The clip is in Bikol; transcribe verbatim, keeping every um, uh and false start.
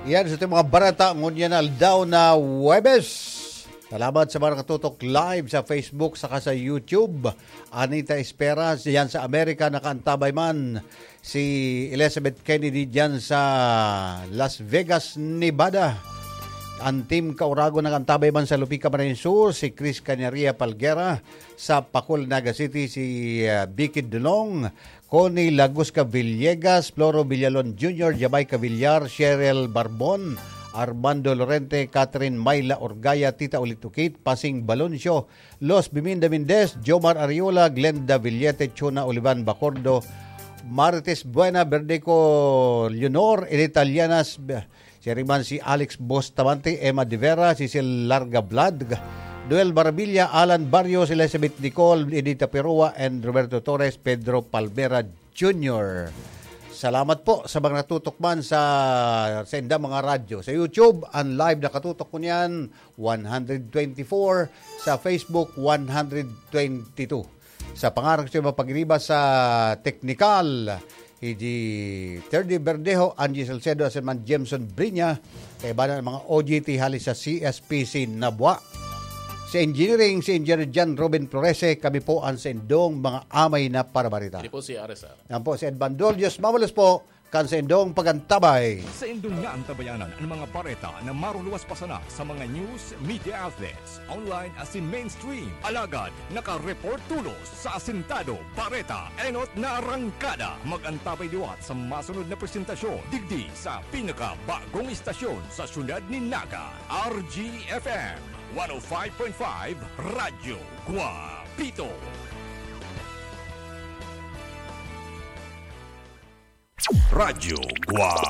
Yan sa ating mga bareta ngunyan na aldaw na Huwebes. Salamat sa mga nakatutok live sa Facebook saka sa YouTube. Anita Esperas, diyan sa Amerika, nakaantabay man. Si Elizabeth Kennedy diyan sa Las Vegas, Nevada. Ang Team Kauragon nakaantabay man sa Lupica, Camarines Sur, si Chris Cañaria Palguera, sa Pacol, Naga City, si, ah, Vicky Dulong, Connie Lagusca Villegas, Floro Villalon Junior, Jamaica Villar, Cheryl Barbon, Armando Lorente, Catherine Myla Orgaya, Tita Ulit Ukit, Pasing Baloncio, Los Biminda Mendez, Jomar Ariola, Glenda Villete, Chona Olivan Bacordo, Marites Buena, Verdeco Leonor, Edith Alianas, siya rin man si Alex Bustamante, Emma De Vera, Cecil Larga Vlad, Noel Barabilla, Alan Barrios, Elizabeth Nicole, Edita Perua, and Roberto Torres, Pedro Palmera Junior. Salamat po sa mga natutok man sa, sa indang mga radyo. Sa YouTube, ang live nakatutok ko niyan, one hundred twenty-four. Sa Facebook, one hundred twenty-two. Sa pangaran ko sa mga pagriba sa teknikal, Hiji Terdy Verdejo, Angie Salcedo, asin man Jameson Brinya, kaiba na ang mga O G T hali sa C S P C Nabua. Sa engineering, si Engineer John Robin Florese, kami po ang sa indong mga amay na parabarita. Hindi po si R S R. Yan po si Ed Bandol. Diyos mabalos po, kan sa indong pagantabay. Sa indong nga antabayanan ang mga bareta na maruluwas pa sana sa mga news media outlets, online asin mainstream. Alagad, nakareport tulos sa Asintado Bareta, enot na arangkada. Mag-antabay liwat sa masunod na presentasyon, digdi sa pinakabagong istasyon sa siyudad ni Naga, R G F M, one oh five point five Radyo Guapito. Radyo Guapito.